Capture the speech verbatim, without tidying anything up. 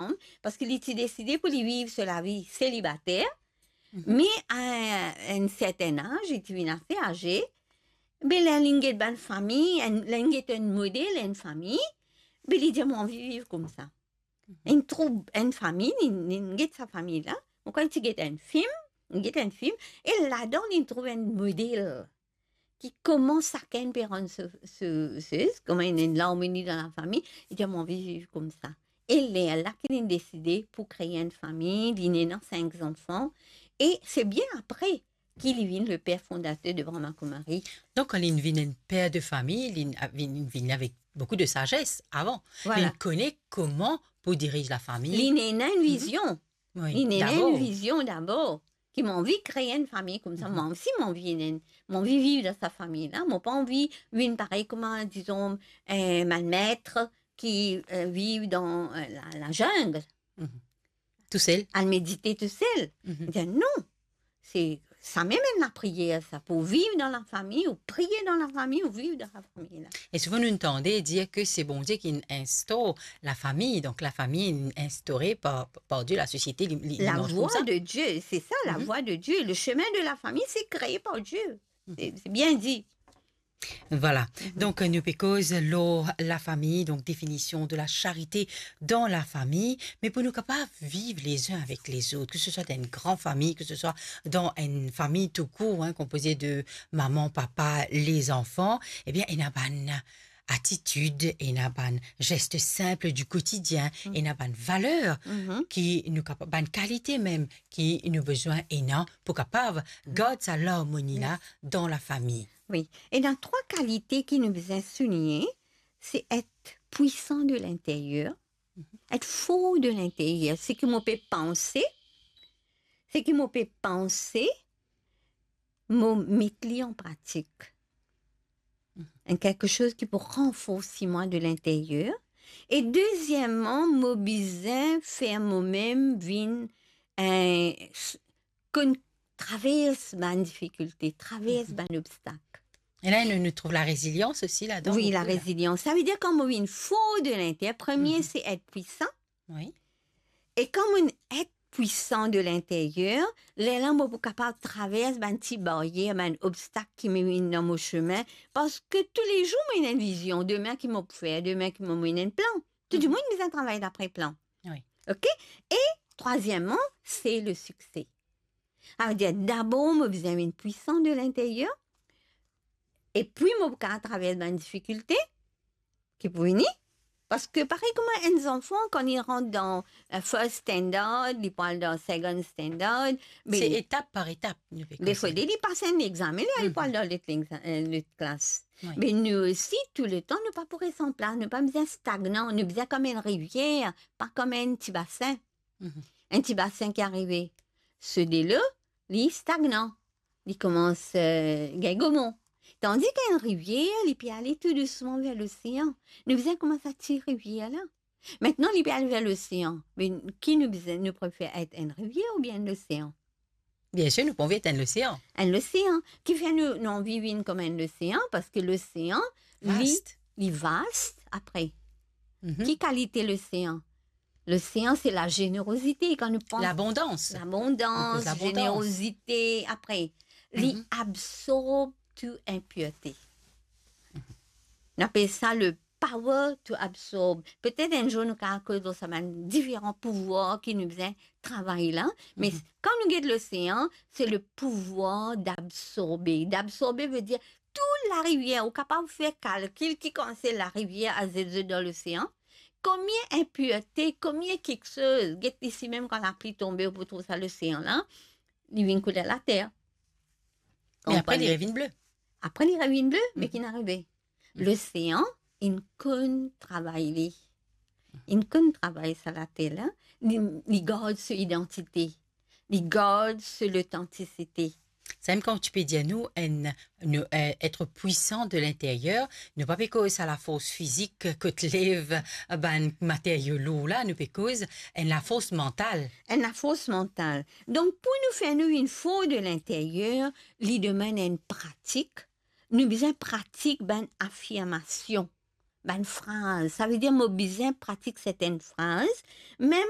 ansanm, parski li ti deside pou li viv so lavi selibater, mhm, me a enn sertenn az, li ti vinn ase aze, be ler linn get bann fami, enn, ler linn get enn model, enn fami, be li dir, "Mo anvi viv koumsa." Mhm. Linn trouv enn fami, linn, linn get sa fami la. Mo krwar li ti get enn fim, linn get enn fim, e ladan linn trouv enn model ki kouma sakenn pe rann so, so, so, kouma ena enn larmoni dan lafami, li dir, "Mo anvi viv koumsa." E lerla ki linn deside pou kree enn fami, linn ena sink zanfan, e se bien apre ki li vinn le per fondater de Brahma Kumari. Donk, kan linn vinn enn per de fami, linn, vinn, vinn avek boukou de sazes avan. Vwala. Linn kone kouma pou diriz lafami. Linn ena enn, mhm, vizion. Wi, linn ena dabor enn vizion dabor, ki mo anvi kree enn fami koumsa, mhm, mwa osi mo anvi ena enn, mo anvi viv dan sa fami la, mo pa anvi vinn parey kouma, dizon, eh, bann met ki, eh, viv dan, eh, la, la jungle. Mhm. Tousel. Al medite tousel. Mhm. Li dir, "Non, se sa mem enn lapriyer sa, pou viv dan lafami, ou priye dan lafami, ou viv dan lafami la." E souvan nou tande dir ke se Bondie ki inn instor lafami, donk lafami inn instaure par, par Die, lasosiete, li, li, li mars koumsa. La voie de Dieu, c'est ça, la, mhm, voie de Dieu, le chemin de la famille, c'est créé par Dieu. Mhm. C'est, c'est bien dit. Vwala. Mhm. Donk, nou pe koz lor lafami, donk definision de la charite dan lafami, me pou nou kapav viv les uns avec les autres, ke se swa dan enn gran fami, ke se swa dan enn fami toukour, hein, konpoze de mama, papa, lezanfan, ebien, ena bann atitid, ena bann zes sinp di kotidien, mm, ena bann valer, mhm, ki nou kapa-, bann kalite mem ki nou bizin ena pou kapav, mm, gard sa larmoni la, yes, dan lafami. Wi. Ena trwa kalite ki nou bizin souligne, se et pwisan de linteryer, mhm, et for de linteryer. Seki mo pe panse, seki mo pe panse, mo met li an pratik. Mhm. Enn kiksoz ki pou ranforsi mwa de linteryer. E dezieman, mo bizin fer momem vinn, eh, s-, konn travers bann difikilte, travers, mhm, bann obstak. E la, nou, nou trouv larezilians osi ladan, wi, boukou, la, larezilians. Savedir kan mo vinn for de linteryer, premie, mhm, se et pwisan. Wi. E kan mo et pwisan de linteryer, lerla mo pou kapav travers bann ti baryer, bann obstak ki vinn dan mo semin, parski toulezour mo ena enn vizion, demin ki mo pou fer, demin ki mo, mo ena enn plan. Tou, mhm, dimoun bizin travay dapre plan. Wi. Ok? E trwazieman, se le sikse. Savedir, dabor mo bizin vinn pwisan de linteryer, epi mo pou kapav travers bann difikilte ki pou vini, parski parey kouma enn zanfan, kan li rant dan, eh, first standard, li pou al dan second standard, be se etap par etap, nou pe konsider. Defwa li pas enn examen, li, mhm, pou al dan lot legza-, eh, lot klas. Wi. Me nou osi, touletan, nou pa pou res anplas, nou pa bizin stagnan, nou bizin kom enn rivier, pa kom enn ti basin. Mhm. Enn ti basin ki arive, so delo, li stagnan, li koumans, eh, gagn gomon. Tandis ki enn rivier, li pe ale tou dousman ver losean. Nou bizin koumans sa ti rivier la. Aster, li pe al ver losean. Me ki nou bizin, nou prefer et enn rivier oubien enn losean? Biensir, nou pa anvi et enn losean. Enn losean. Kifer nou, nou anvi vinn kom enn losean? Parski losean, li, vast, li vast, apre. Mhm. Ki kalite losean? Losean, se lazenerozite, kan nou pans. Labondans. Labondans, nou koz labondans. Zenerozite, apre. Li, mhm, absorb tou inpirte. Mhm. Nou apel sa le power to absorb. Petet enn zour nou kapav koz lor sa bann diferan pouvwar ki nou bizin travay la. Me, mhm, kan nou get losean, se le pouvwar d'absorbe. D'absorbe vedir tou larivier, ou kapav fer kalkil ki kantite larivier al zet zot dan losean. Komie inpirte, komie kiksoz, get isi mem kan lapli tonbe, ou pou trouv sa losean la, li vinn kouler later. Me apre, li revinn ble. Apre, li revinn ble, me, mhm, ki inn arive? Mhm. Losean, inn konn travay li. Inn konn travay sa later la, li, li gard so idantite, li gard so lotantisite. Samem kan ti pe dir nou, enn, nou, eh, et pwisan de linteryer, nou pa pe koz sa lafors fizik kot lev bann materyo lour la, nou pe koz enn lafors mantal. Enn lafors mantal. Donk, pou nou fer nou vinn for de linteryer, li demann enn pratik. Nou bizin pratik bann afirmasion. bann fraz. Savedir mo bizin pratik sertenn fraz, mem